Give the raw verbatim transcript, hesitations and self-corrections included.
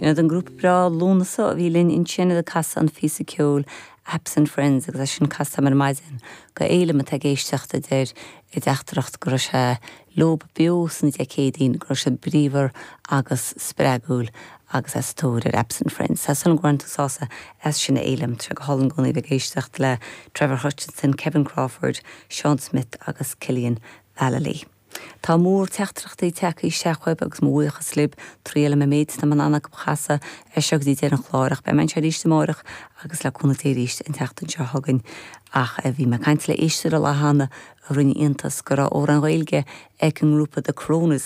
Sin an grúpa breá Lúnasa a bhí linn ansin ag casadh an phíosa ceoil Absent Friends agus é sin casta ar maidin go éile ag éisteacht deir i dteachtaireacht go raibh sé leo beo sna décéidín go raibh sé bríomhar agus spreagúil agus as tóir ar Absent Friends. Tá san gcuan sása as sin élam tre go hálainn gcónaí bheith éisteacht le Trevor Hutchinson, Kevin Crawford, Sean Smith agus Killian Vallely. Tá mór teachtaireachtaí tagtha isteach chugaibh agus mo bhuíochas libh triail me méid na man anna chasa é seo dí an chlárach be sé ríiste mórach agus le cúnamh Dé arís an tseachtain seo chugainn ach a bhí me caint le éisteoir a lehanna a rinne iontas go raibh amhrán Gaeilge ag an ngrúpa The Coronas